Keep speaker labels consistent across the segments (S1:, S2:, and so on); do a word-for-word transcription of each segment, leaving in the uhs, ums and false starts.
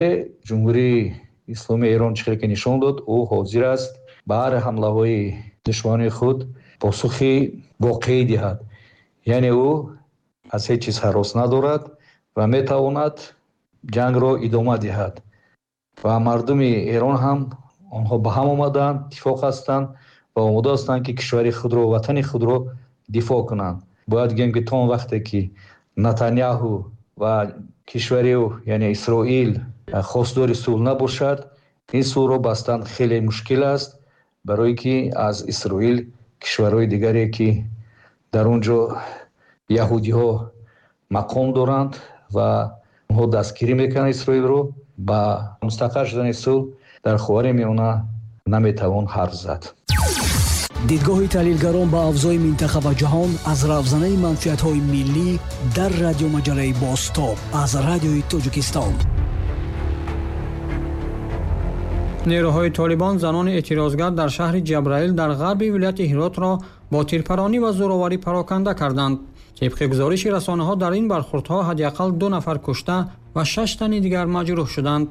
S1: Ҷумҳурии Исломии Эрон чӣ хеле ки нишон дод, ӯ ҳозир аст ба ҳар ҳамлаҳои душманони худ посухи воқеӣ диҳад. Яъне ӯ аз ҳеҷ чиз ҳарос надорад ва метавонад ҷангро идома диҳад. Ва мардуми Эрон ҳам онҳо ба ҳам омадаанд, иттифоқ ҳастанд ва омода ҳастанд, ки кишвари худро, ватани худро дифоъ кунанд. Бояд гӯем, ки то он вақте ки Нетаняҳу ва кишвари ӯ, яъне Исроил, хостдори сулҳ набошад, ин сулҳро бастан хеле мушкил аст, барои ки аз Исроил кишварҳои дигаре ки дар он ҷо яҳудиҳо мақом доранд ва онҳо дастгирӣ мекунанд Исроилро, ба мустақар шудани сулҳ дар Ховари Миёна наметавон ҳарф зад.
S2: Дидгоҳи таҳлилгарон ба авзои минтақа ва ҷаҳон аз равзанаи манфиатҳои миллӣ дар радиомаҷалаи Бозтоб аз Радиои Тоҷикистон.
S3: Нерӯҳои Толибон занони эътирозгар дар шаҳри Ҷабраил дар ғарби вилояти Ҳиротро бо тирпаронӣ ва зӯроварӣ пароканда карданд. Тибқи гузориши расонаҳо дар ин бархӯрдҳо ҳадди ақал ду нафар кушта ва шаш тани дигар маҷрӯҳ шуданд.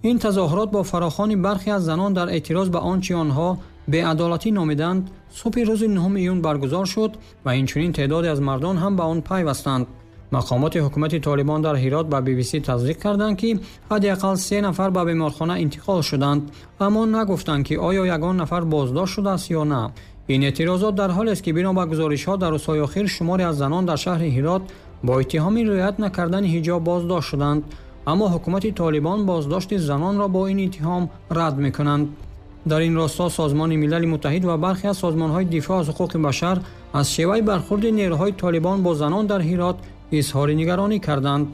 S3: Ин тазоҳурот бо фарохони бархе аз занон дар эътироз ба он чи онҳо беадолатӣ номиданд, субҳи рӯзи нӯҳуми июн баргузор шуд ва инчунин теъдоде аз мардон ҳам ба он пайвастанд. Мақомоти ҳукумати Толибон дар Ҳирот ба би би си тасдиқ карданд, ки ҳадди ақал се нафар ба беморхона интиқол шуданд, аммо нагуфтанд, ки оё ягон нафар боздошт шудааст ё на. Ин эътирозот дар ҳолест, ки бино ба гузоришҳо дар рӯзҳои охир шуморе аз занон дар шаҳри Ҳирот бо иттиҳоми риоят накардани ҳиҷоб боздошт шуданд, аммо ҳукумати Толибон боздошти занонро бо ин иттиҳом рад мекунанд. Дар ин росто Созмони Милали Муттаҳид ва бархе аз созмонҳои дифоъ аз ҳуқуқи башар аз шеваи бархӯрди нерӯҳои Толибон бо занон дар Ҳирот изҳори нигаронӣ карданд.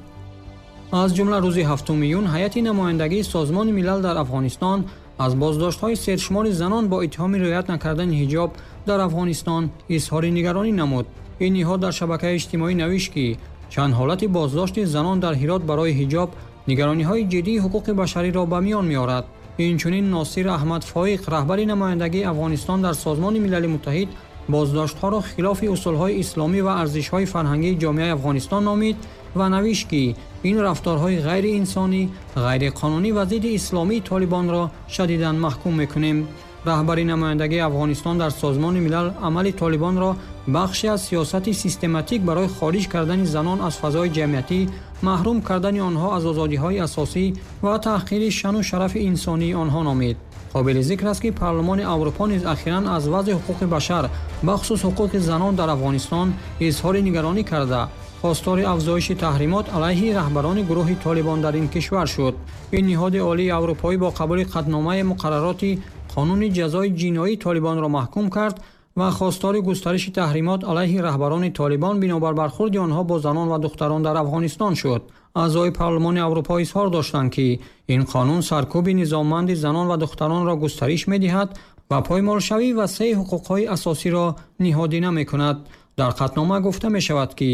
S3: Аз ҷумла рӯзи ҳафтуми июн ҳайати намояндагии Созмони Милал дар Афғонистон аз боздоштҳои сершумори занон бо иттиҳоми риоят накардани ҳиҷоб дар Афғонистон изҳори нигаронӣ намуд. Ин ниҳод дар шабакаи иҷтимоӣ навишт, ки чанд ҳолати боздошти занон дар Ҳирот барои ҳиҷоб нигарониҳои ҷиддии ҳуқуқи башариро ба миён меорад. Инчунин Носир Аҳмад Фоиқ, раҳбари намояндагии Афғонистон дар Созмони Милали Муттаҳид, боздоштҳоро хилофи усулҳои исломӣ ва арзишҳои фарҳангии ҷомеаи Афғонистон номид ва навишт, ки ин рафторҳои ғайриинсонӣ, ғайриқонунӣ ва зидди исломии Толибонро шадидан маҳкум мекунем. Раҳбари намояндагии Афғонистон дар Созмони Милал амали Толибонро бахше аз сиёсати систематик барои хориҷ кардани занон аз фазои ҷамъиятӣ, маҳрум кардани онҳо аз озодиҳои асосӣ ва таҳқири шаъну шарафи инсонии онҳо номид. Қобили зикр аст, ки Парлумони Аврупо низ ахиран аз вазъи ҳуқуқи башар, бахусус ҳуқуқи занон дар Афғонистон изҳори нигаронӣ карда, хостори афзоиши таҳримот алайҳи раҳбарони гурӯҳи Толибон дар ин кишвар шуд. Ин ниҳоди олии аврупоӣ бо қабули қатъномаи муқаррароти қонуни ҷазои ҷиноии Толибонро маҳкум кард ва хостори густариши таҳримот алайҳи раҳбарони Толибон бинобар бархӯрди онҳо бо занон ва духтарон дар Афғонистон шуд. Аъзои Парлумони Аврупо изҳор доштанд, ки ин қонун саркӯби низомманди занон ва духтаронро густариш медиҳад ва поймолшавӣ ва се ҳуқуқҳои асосиро ниҳодина мекунад. Дар қатънома гуфта мешавад, ки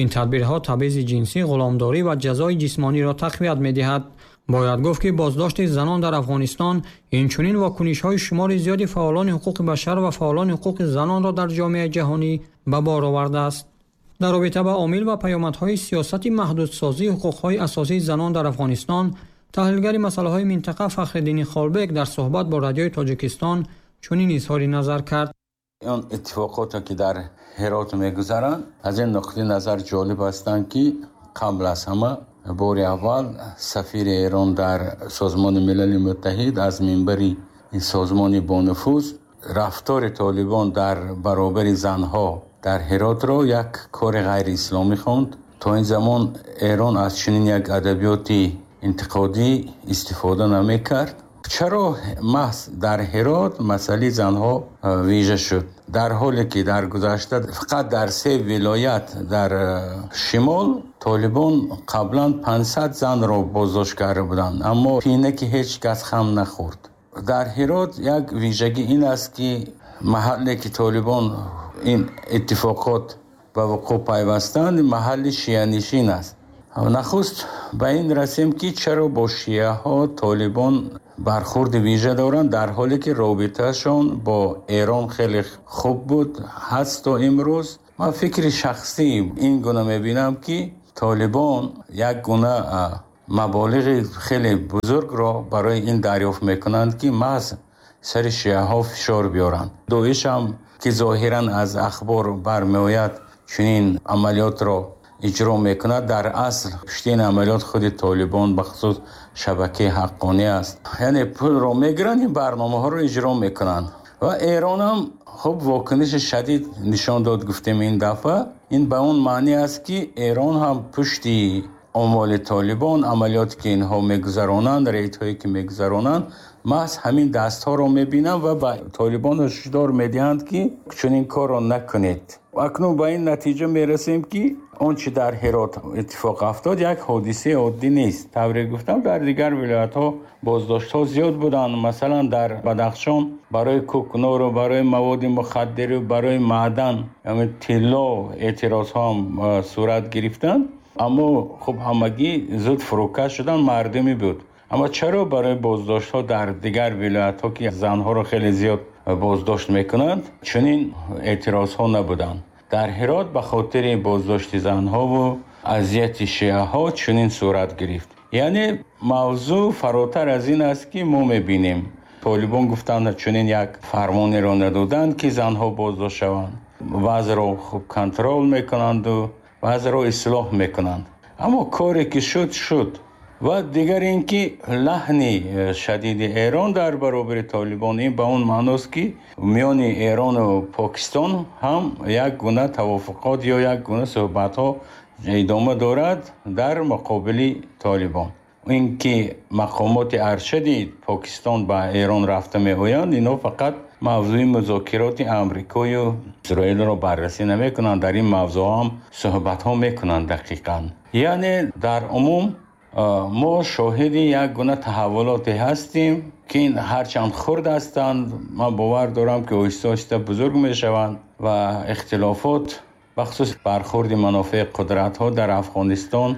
S3: ин тадбирҳо табъизи ҷинсӣ, ғуломдорӣ ва ҷазои ҷисмониро тақвият медиҳад. Бояд гуфт, ки боздошти занон дар Афғонистон инчунин вокунишҳои шумори зиёди фаъолони ҳуқуқи башар ва фаъолони ҳуқуқи занонро дар ҷомеаи ҷаҳонӣ ба бор овардааст. Дар робита ба омил ва паёмадҳои сиёсати маҳдудсозии ҳуқуқҳои асосии занон дар Афғонистон, таҳлилгари масъалаҳои минтақа Фахриддини Холбек дар суҳбат бо Радиои Тоҷикистон чунин изҳори назар кард.
S4: Он иттифоқоте ки дар Ҳирот мегузаранд, аз ин нуқтаи назар ҷолиб ҳастанд, ки қабл аз ҳама бори аввал сафири Эрон дар Созмони Милали Муттаҳид аз минбари ин созмони бонуфуз рафтори Толибон дар баробари занҳо дар Ҳиротро як кори ғайриисломӣ хонд. То ин замон Эрон аз чунин як адабиёти интиқодӣ истифода намекард. Чаро маҳз дар Ҳирот масъалаи занҳо вижа шуд? Дар ҳоле ки дар гузашта фақат дар се вилоят дар шимол Толибон қаблан панҷсад занро боздошт карда буданд, аммо пине ки ҳеҷ кас хам нахӯрд. Дар Ҳирот як вижагӣ ин аст, ки маҳалле ки Толибон ин иттифоқот ба вуқӯъ пайвастанд, маҳалли шианишин аст. Нахуст ба ин расем, ки чаро бо шиаҳо Толибон бархӯрди вижа доранд, дар ҳоле ки робитаашон бо Эрон хеле хуб буд ҳаст то имрӯз. Ман фикри шахсӣ ин гуна мебинам, ки Толибон як гуна Маболиғи хеле бузургро барои ин дарёфт мекунанд, ки маҳз сари шиаҳо фишор биёранд. Доиш ҳам ки зоҳиран аз ахбор бармеояд, чунин амалиётро иҷро мекунад, дар асл пушти ин амалиёт худи Толибон, бахусус шабакаи Ҳаққонӣ аст. Яъне пулро мегиранд, ин барномаҳоро иҷро мекунанд. Ва Эрон ҳам хуб вокуниши шадид нишон дод, гуфтем ин дафъа. Ин ба он маъни аст, ки Эрон ҳам пушти амволи Толибон, амалиёте ки инҳо мегузаронанд, рейдҳое ки мегузаронанд, маҳз ҳамин дастҳоро мебинанд ва ба Толибон ҳушдор медиҳанд, ки чунин корро накунед. Акнун ба ин натиҷа мерасем, ки он чи дар Ҳирот иттифоқ афтод як ҳодисаи оддӣ нест. Тавре гуфтам, дар дигар вилоятҳо боздоштҳо зиёд буданд. Масалан, дар Бадахшон барои кӯкнор ва барои маводи мухаддир ва барои маъдан, яъне тилло, эътирозҳо ҳам сурат гирифтанд. Аммо хуб ҳамагӣ зуд фурӯкаш шуданд, мардумӣ буд. Аммо чаро барои боздоштҳо дар дигар вилоятҳо, ки занҳоро хеле зиёд боздошт мекунанд, чунин эътирозҳо набуданд? Дар Ҳирот ба хотири боздошти занҳо ва азияти шиаҳо чунин сурат гирифт. Яъне мавзӯъ фаротар аз ин аст, ки мо мебинем. Толибон гуфтанд, чунин як фармонеро надоданд, ки занҳо боздошт шаванд. Вазъро хуб контрол мекунанд ва вазъро ислоҳ мекунанд. Аммо коре ки шуд, шуд. Ва дигар ин ки лаҳни шадиди Эрон дар баробари Толибон, ин ба он маъност, ки миёни Эрон ва Покистон ҳам як гуна тавофуқот ё як гуна суҳбатҳо идома дорад дар муқобили Толибон. Ин ки мақомоти аршади Покистон ба Эрон рафта меоянд, инҳо фақат мавзӯи музокироти Амрикою Исроилро баррасӣ намекунанд, дар ин мавзӯъ ҳам суҳбатҳо мекунанд дақиқан. Яъне дар умум мо шоҳиди як гуна таҳаввулоте ҳастем, ки ин ҳарчанд хурд ҳастанд, ман бовар дорам, ки оҳиста оҳиста бузург мешаванд ва ихтилофот, бахусус бархӯрди манофеи қудратҳо дар Афғонистон,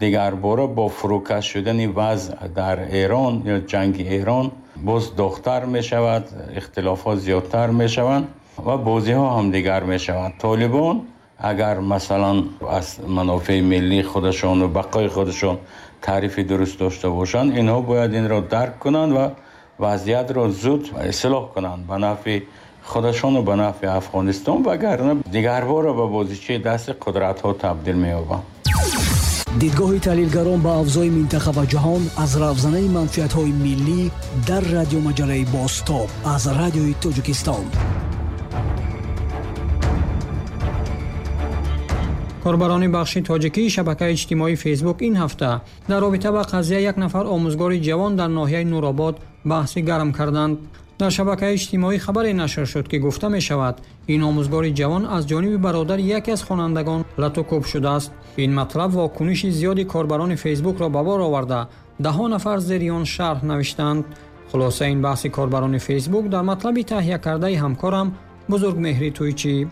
S4: дигарбора бо фурӯкаш шудани вазъ дар Эрон ё ҷанги Эрон боз доғтар мешавад, ихтилофот зиёдтар мешаванд ва бозиҳо ҳам дигар мешаванд. Толибон агар масалан аз манофеи миллии худашон ва бақои худашон таърифи дуруст дошта бошанд, инҳо бояд инро дарк кунанд ва вазъиятро зуд ислоҳ кунанд ба нафъи худашон ва ба нафъи Афғонистон, вагарна дигарбора ба бозичаи дасти қудратҳо табдил меёбанд.
S2: Дидгоҳи таҳлилгарон ба авзои минтақа ва ҷаҳон аз равзанаи манфиатҳои миллӣ дар радиомаҷалаи Бозтоб аз Радиои Тоҷикистон.
S3: Корбарони бахши тоҷикии шабакаи иҷтимоии Фейсбук ин ҳафта дар робита ба қазия як нафар омӯзгори ҷавон дар ноҳияи Нуробод баҳси гарм карданд. Дар шабакаи иҷтимоӣ хабаре нашр шуд, ки гуфта мешавад ин омӯзгори ҷавон аз ҷониби бародари яке аз хонандагон латукӯб шудааст. Ин матлаб вокуниши зиёди корбарони Фейсбукро ба бор оварда, даҳҳо нафар зери он шарҳ навиштанд. Хулосаи ин баҳси корбарони Фейсбук дар матлаби таҳия кардаи ҳамкорам Бузургмеҳри Тӯйчӣ.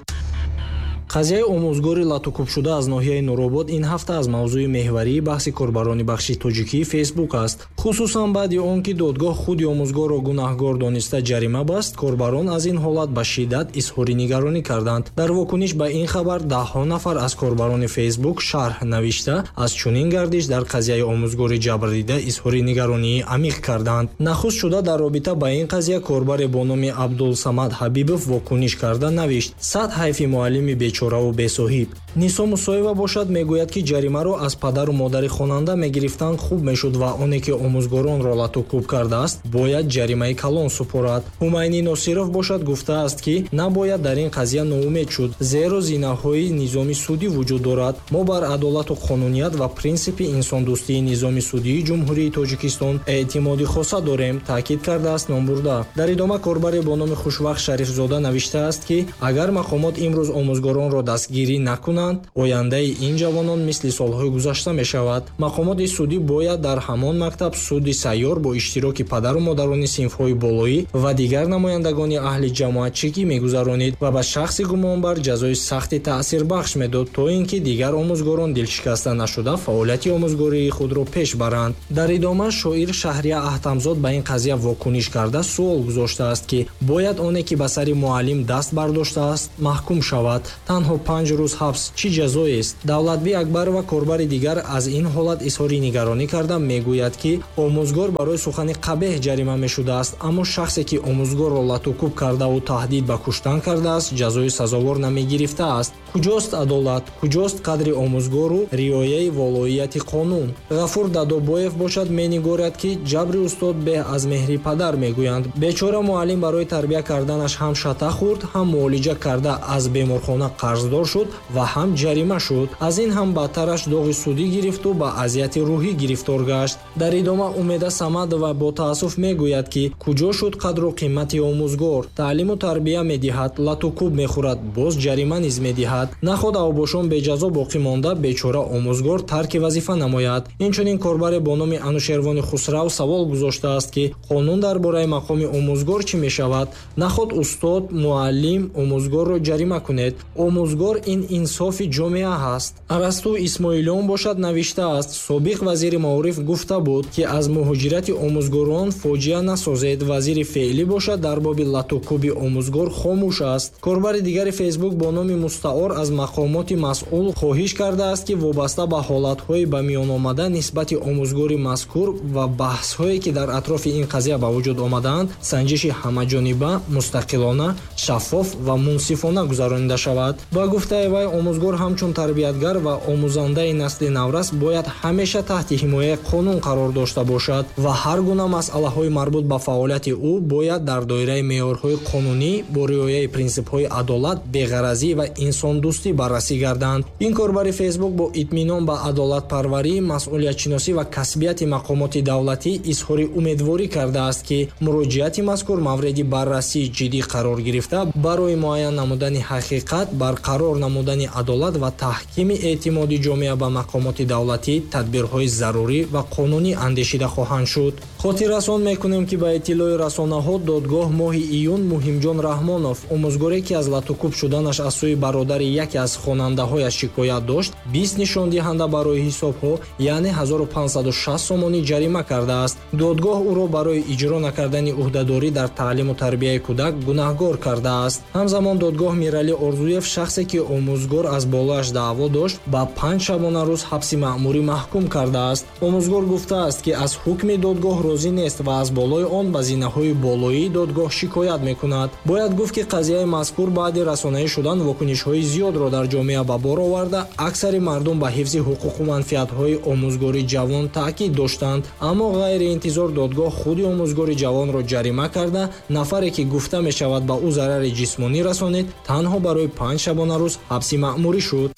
S5: Қазияи омӯзгори латукӯбшуда аз ноҳияи Нуробод ин ҳафта аз мавзӯи меҳварии баҳси корбарони бахши тоҷикии Фейсбук аст. Хусусан баъди он ки додгоҳ худи омӯзгорро гунаҳгор дониста ҷарима баст, корбарон аз ин ҳолат ба шиддат изҳори нигаронӣ карданд. Дар вокуниш ба ин хабар даҳҳо нафар аз корбарони Фейсбук шарҳ навишта аз чунин гардиш дар қазияи омӯзгори ҷабрдида изҳори нигаронии амиқ карданд. Нахуст шуда дар робита ба ин қазия корбаре бо номи Абдулсамад Ҳабибов вокуниш карда навишт: сад ҳайфи муаллими бечораву бесоҳиб. Нисо Мусоева бошад мегӯяд, ки ҷаримаро аз падару модари хонанда мегирифтанд хуб мешуд ва оне ки омӯзгоронро латукӯб кардааст бояд ҷаримаи калон супорад. Ҳумайни Носиров бошад гуфтааст, ки набояд дар ин қазия ноумед шуд, зеро зинаҳои низоми судӣ вуҷуд дорад. Мо бар адолату қонуният ва принсипи инсондӯстии низоми судии Ҷумҳурии Тоҷикистон эътимоди хоса дорем, таъкид кардааст номбурда. Дар идома корбаре бо номи Хушвақт Шарифзода навиштааст, ки агар мақомот имрӯз омӯзгоронро дастгирӣ накунанд, ояндаи ин ҷавонон мисли солҳои гузашта мешавад. Мақомоти судӣ бояд дар ҳамон мактаб суди сайёр бо иштироки падару модарони синфҳои болоӣ ва дигар намояндагони аҳли ҷамоатчикӣ мегузаронид ва ба шахси гумонбар ҷазои сахти таъсирбахш медод, то ин ки дигар омӯзгорон дилшикаста нашуда фаъолияти омӯзгории худро пеш баранд. Дар идома шоир Шаҳрия Аҳтамзод ба ин қазия вокуниш карда суол гузоштааст, ки бояд оне ки ба сари муаллим даст бардоштааст маҳкум шавад. Танҳо панҷ рӯз ҳабс аст, чӣ ҷазоест? Давлатби Акбарова, корбари дигар, аз ин ҳолат изҳори нигаронӣ карда мегӯяд, ки омӯзгор барои сухани қабеҳ ҷарима мешудааст, аммо шахсе ки омӯзгорро латукӯб кардаву таҳдид ба куштан кардааст, ҷазои сазовор намегирифтааст. Куҷост адолат? Куҷост қадри омӯзгору риояи волоияти қонун? Ғафур Дадобоев бошад менигорад, ки ҷабри устод беҳ аз меҳри падар мегӯянд. Бечора муаллим барои тарбия карданаш ҳам шата хӯрд, ҳам муолиҷа карда аз беморхона қарздор шуд ва ҳам ҷарима шуд. Аз ин ҳам бадтараш доғи судӣ гирифту ба азияти рӯҳӣ гирифтор гашт. Дар идома Умеда Самадова бо таассуф мегӯяд, ки куҷо шуд қадру қимати омӯзгор? Таълиму тарбия медиҳад, латукӯб мехӯрад, боз ҷарима низ медиҳад. Наход авбошон беҷазо боқӣ монда, бечора омӯзгор тарки вазифа намояд. Инчунин корбаре бо номи Анушервони Хусрав савол гузоштааст, ки қонун дар бораи мақоми омӯзгор чӣ мешавад? Наход устод, муаллим омӯзгорро ҷарима кунед. Омӯзгор ин инсофи ҷомеа ҳаст. Арасту Исмоилиён бошад навиштааст: собиқ вазири маориф гуфта буд, ки аз муҳоҷирати омӯзгорон фоҷиа насозед. Вазири феълӣ бошад дар боби латукӯби омӯзгор хомӯш аст. Корбари дигари Фейсбук бо номи Мустаор аз мақомоти масъул хоҳиш кардааст, ки вобаста ба ҳолатҳои ба миён омада нисбати омӯзгори мазкур ва баҳсҳое ки дар атрофи ин қазия ба вуҷуд омадаанд, санҷиши ҳамаҷониба, мустақилона, шаффоф ва мунсифона гузаронида шавад. Ба гуфтаи вай, омӯзгор ҳамчун тарбиятгар ва омӯзандаи насли наврас бояд ҳамеша таҳти ҳимояи қонун қарор дошта бошад ва ҳар гуна масъалаҳои марбут ба фаъолияти ӯ бояд дар доираи меъёрҳои қонунӣ бо риояи принсипҳои адолат, беғаразӣ ва инсондӯстӣ баррасӣ гарданд. Ин корбари Фейсбук бо итминон ба адолатпарварӣ, масъулиятшиносӣ ва касбияти мақомоти давлатӣ изҳори умедворӣ кардааст, ки муроҷиати мазкур мавриди баррасии ҷиддӣ қарор гирифта, барои муайян намудани ҳақиқат, барқарор намудани адолат ва таҳкими эътимоди ҷомеа ба мақомоти давлатӣ тадбирҳои зарурӣ ва қонунӣ андешида хоҳанд шуд. Хотиррасон мекунем, ки ба иттилои расонаҳо додгоҳ моҳи июн Муҳимҷон Раҳмонов, омӯзгоре ки аз латукӯб шуданаш аз сӯи бародари яке аз хонандаҳояш шикоят дошт, бист нишондиҳанда барои ҳисобҳо, яъне ҳазору панҷсаду шаст сомонӣ ҷарима кардааст. Додгоҳ ӯро барои иҷро накардани ӯҳдадорӣ дар таълиму тарбияи кӯдак гунаҳгор кардааст. Ҳамзамон додгоҳ Миралӣ Орзуев, шахсе ки омӯзгор аз болояш даъво дошт, ба панҷ шабонарӯз ҳабси маъмурӣ маҳкум кардааст. Омӯзгор гуфтааст, ки аз ҳукми додгоҳ розӣ нест ва аз болои он ба зинаҳои болоии додгоҳ шикоят мекунад. Бояд гуфт, ки қазияи мазкур баъди расонаӣ шудан вокунишҳои зиёдро дар ҷомеа ба бор оварда, аксари мардум ба ҳифзи ҳуқуқу манфиатҳои омӯзгори ҷавон таъкид доштанд. Аммо ғайриинтизор додгоҳ худи омӯзгори ҷавонро ҷарима карда, нафаре ки гуфта мешавад ба ӯ зарари ҷисмонӣ расонид, танҳо барои панҷ шабонарӯз ҳабси маъмурӣ шуд.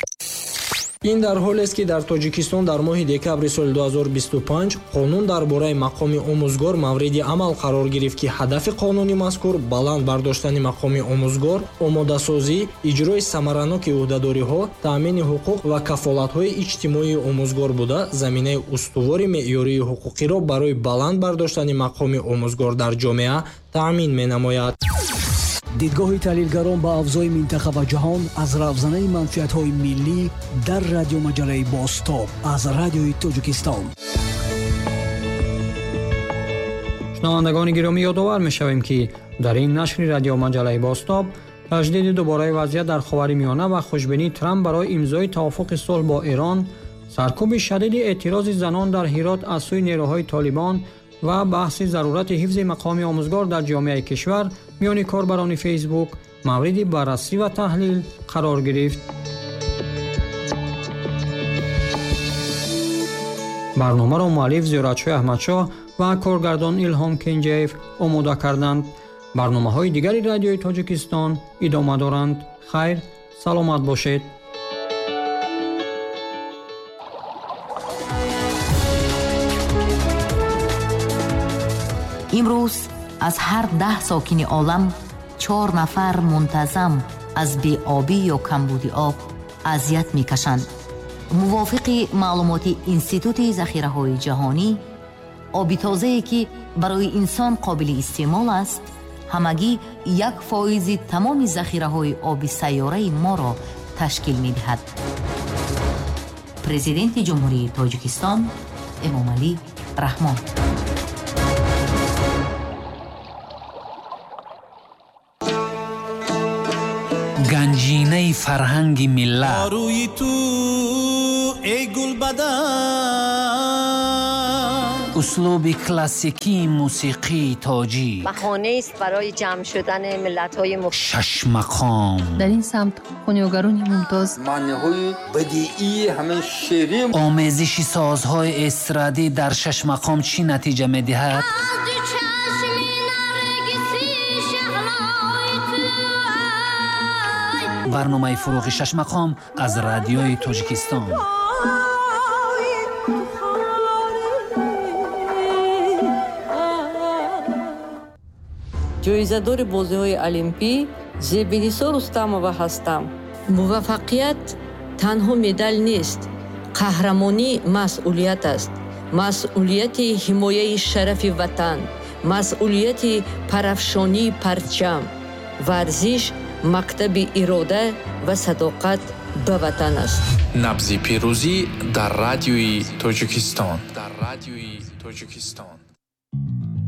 S5: Ин дар ҳолест, ки дар Тоҷикистон дар моҳи декабри соли ду ҳазору бисту панҷ қонун дар бораи мақоми омӯзгор мавриди амал қарор гирифт, ки ҳадафи қонуни мазкур баланд бардоштани мақоми омӯзгор, омодасозӣ, иҷрои самараноки ӯҳдадориҳо, таъмини ҳуқуқ ва кафолатҳои иҷтимоии омӯзгор буда, заминаи устувори меъёрии ҳуқуқиро барои баланд бардоштани мақоми омӯзгор дар ҷомеа таъмин менамояд.
S2: Дидгоҳи таҳлилгарон ба авзои минтақа ва ҷаҳон аз равзанаи манфиатҳои миллӣ дар радиомаҷалаи Бозтоб аз радиои Тоҷикистон.
S3: Шунавандагони гиромӣ, ёдовар мешавем, ки дар ин нашри радиомаҷалаи Бозтоб таҷдиди дубораи вазъият дар Ховари Миёна ва хушбинии Трамп барои имзои тавофуқи сулҳ бо Эрон, саркӯби шадиди эътирози занон дар Ҳирот аз сӯи нерӯҳои Толибон ва баҳси зарурати ҳифзи мақоми омӯзгор дар ҷомеаи кишвар миёни корбарони Фейсбук мавриди баррасӣ ва таҳлил қарор гирифт. Барномаро муаллиф Зиёратшоҳ Аҳмадшоҳ ва коргардон Илҳом Кенҷаев омода карданд. Барномаҳои дигари радиои Тоҷикистон идома доранд. Хайр, саломат бошед.
S6: Имрӯз аз ҳар даҳ сокини олам чор нафар мунтазам аз беобӣ ё камбуди об азият мекашанд. Мувофиқи маълумоти Институти захираҳои ҷаҳонӣ, оби тозае ки барои инсон қобили истеъмол аст, ҳамагӣ як фоизи тамоми захираҳои оби сайёраи моро ташкил медиҳад. Президенти Ҷумҳурии Тоҷикистон Эмомалӣ Раҳмон.
S7: Ганҷинаи фарҳанги миллат.
S8: Рӯи ту эй гулбадан.
S7: Услуби классикии мусиқии тоҷик.
S9: Баҳонаест барои ҷамъ шудани миллатҳои мухталиф.
S7: Шаш мақом.
S10: Дар ин самт хунёгарони мумтоз.
S11: Маъниҳои бадиии ҳамин шеърӣ.
S7: Омезиши созҳои эстрадӣ дар шаш мақом чӣ натиҷа медиҳад? Барномаи фурӯғи шаш мақом аз радиои Тоҷикистон.
S12: Ҷоизадори бозиҳои Олимпӣ Зебинисо Рустамова ҳастам. Муваффақият танҳо медал нест. Қаҳрамонӣ масъулият аст. Масъулияти ҳимояи шарафи ватан, масъулияти парафшонии парчам. Варзиш мактаби ирода ва садоқат ба ватан аст.
S13: Набзи пирӯзӣ дар радиои Тоҷикистон. Дар радиои Тоҷикистон.